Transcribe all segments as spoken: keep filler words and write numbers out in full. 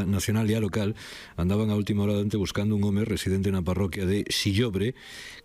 Policía Nacional e a local andaban a última hora dante buscando un home residente na parroquia de Sillobre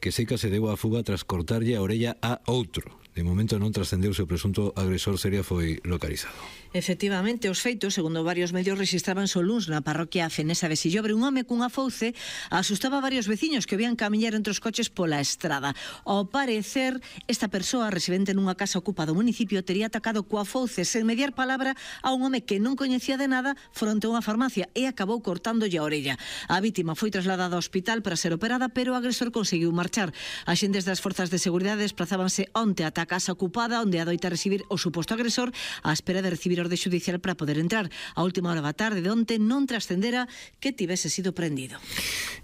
que seica se deu a fuga tras cortarlle a orella a outro. De momento non trascendeuse o presunto agresor, seria foi localizado. Efectivamente, os feitos, segundo varios medios, registrabanse o luns na parroquia fenesa de Sillobre. Un home cunha fouce asustaba a varios veciños que vían camiñar entre os coches pola estrada. Ao parecer, esta persoa, residente nunha casa ocupada do municipio, tería atacado coa fouce sen mediar palabra a un home que non coñecía de nada fronte a unha farmacia e acabou cortándolle a orella. A vítima foi trasladada ao hospital para ser operada, pero o agresor conseguiu marchar. Axentes das forzas de seguridade desplazábanse onte ata a casa ocupada onde adoita recibir o suposto agresor á espera de recibir orde judicial para poder entrar. A última hora da tarde de onte non trascendera que tivese sido prendido.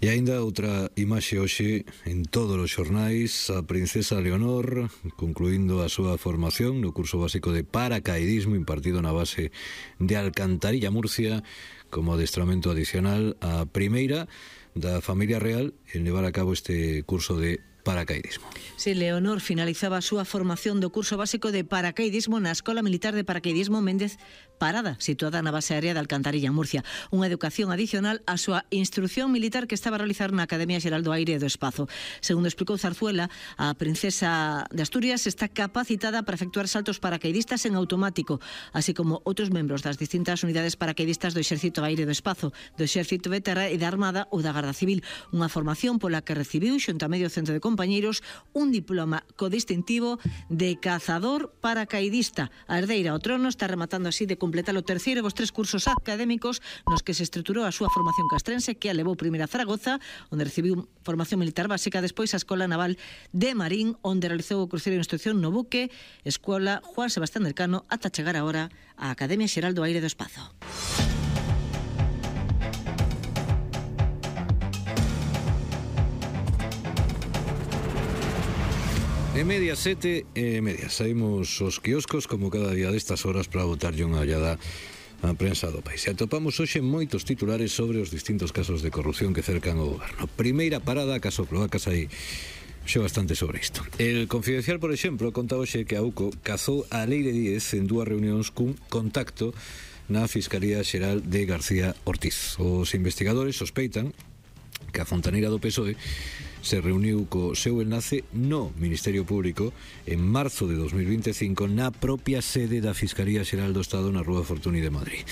E aínda outra imaxe hoxe en todos os xornais: a princesa Leonor concluindo a súa formación no curso básico de paracaidismo impartido na base de Alcantarilla, Murcia, como adestramento adicional a primeira da familia real en levar a cabo este curso de paracaidismo. Si, Leonor finalizaba a súa formación do curso básico de paracaidismo na Escola Militar de Paracaidismo Méndez Parada, situada na base aérea de Alcantarilla, Murcia. Unha educación adicional á súa instrucción militar que estaba a realizar na Academia Xeral do Aire e do Espazo. Segundo explicou Zarzuela, a princesa de Asturias está capacitada para efectuar saltos paracaidistas en automático, así como outros membros das distintas unidades paracaidistas do Exército do Aire e do Espazo, do Exército de Terra e da Armada ou da Garda Civil. Unha formación pola que recibiu, xunto a medio centro de compañeiros, un diploma co distintivo de cazador paracaidista. A herdeira ao trono está rematando así de completar o terceiro dos tres cursos académicos nos que se estruturou a súa formación castrense, que a levou primeiro a Zaragoza, onde recibiu formación militar básica, despois a Escola Naval de Marín, onde realizou o cruceiro de instrucción no buque Escola Juan Sebastián del Cano, ata chegar agora á Academia Xeral do Aire e do Espazo. E media sete e media saímos os quioscos como cada día destas horas para botarlle unha ollada a prensa do país. E atopamos hoxe moitos titulares sobre os distintos casos de corrupción que cercan o goberno. Primeira parada, caso Cloacas, aí xe bastante sobre isto. El Confidencial, por exemplo, conta hoxe que a UCO cazou a Leire Díez en dúas reunións cun contacto na Fiscalía Xeral de García Ortiz. Os investigadores sospeitan que a fontaneira do P S O E se reuniu co seu enlace no Ministerio Público en marzo de dos mil vinte e cinco na propia sede da Fiscalía Xeral do Estado na Rúa Fortuny de Madrid.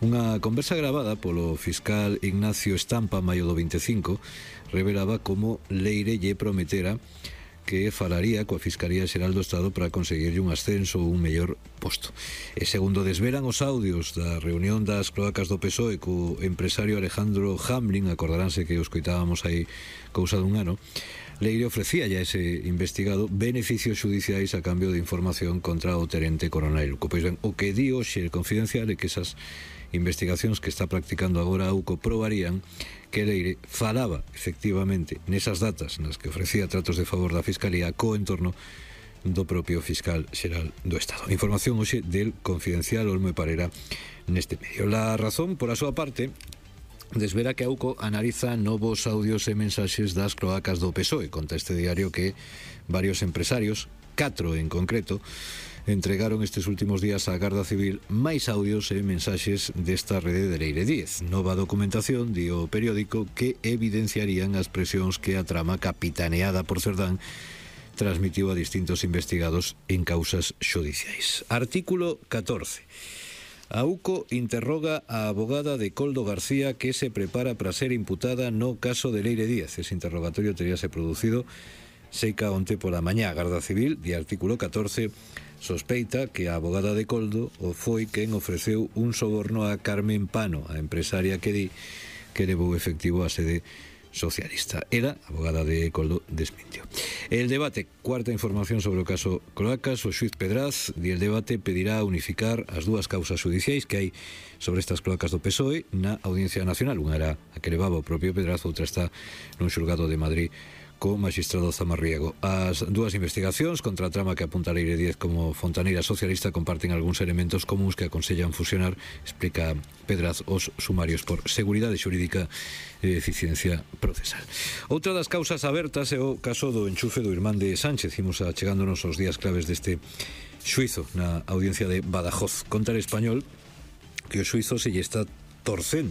Unha conversa gravada polo fiscal Ignacio Estampa maio do vinte e cinco revelaba como Leire lle prometera que falaría coa Fiscalía Xeral do Estado para conseguirlle un ascenso ou un mellor posto. E segundo desvelan os audios da reunión das cloacas do P S O E co empresario Alejandro Hamlin, acordaránse que os coitábamos aí cousa dun ano, Leire ofrecía ya ese investigado beneficios judiciais a cambio de información contra o tenente coronel. Pois ben, o que di hoxe el Confidencial é que esas investigacións que está practicando agora a UCO probarían que Leire falaba efectivamente nesas datas nas que ofrecía tratos de favor da Fiscalía co entorno do propio fiscal xeral do Estado. Información hoxe del Confidencial, Olmo e Parera neste medio. La Razón, por a súa parte, desvela que a UCO analiza novos audios e mensaxes das cloacas do P S O E. Conta este diario que varios empresarios, catro en concreto, entregaron estes últimos días á Garda Civil máis audios e mensaxes desta rede de Leire Díez. Nova documentación, di o periódico, que evidenciarían as presións que a trama capitaneada por Cerdán transmitiu a distintos investigados en causas xudiciais. Artículo catorce. A UCO interroga a abogada de Coldo García que se prepara para ser imputada no caso de Leire Díez. Ese interrogatorio teríase producido seica onte pola mañá. A Garda Civil, de artículo catorce, sospeita que a abogada de Coldo o foi quen ofreceu un soborno a Carmen Pano, a empresaria que di que levou efectivo a sede socialista. Ela, abogada de Coldo, desmintió. El debate, cuarta información sobre o caso Cloacas, o xuiz Pedraz, di el debate pedirá unificar as dúas causas judiciais que hai sobre estas cloacas do P S O E na Audiencia Nacional. Unha era a que levaba o propio Pedraz, outra está nun xulgado de Madrid co magistrado Zamarriego. As dúas investigacións contra a trama que apunta Leire Díez como fontaneira socialista comparten algúns elementos comuns que aconsellan fusionar, explica Pedraz, os sumarios por seguridade xurídica e eficiencia procesal. Outra das causas abertas é o caso do enchufe do irmán de Sánchez. Imos achegándonos aos días claves deste xuizo na Audiencia de Badajoz. Conta El Español que o xuizo se lle está torcendo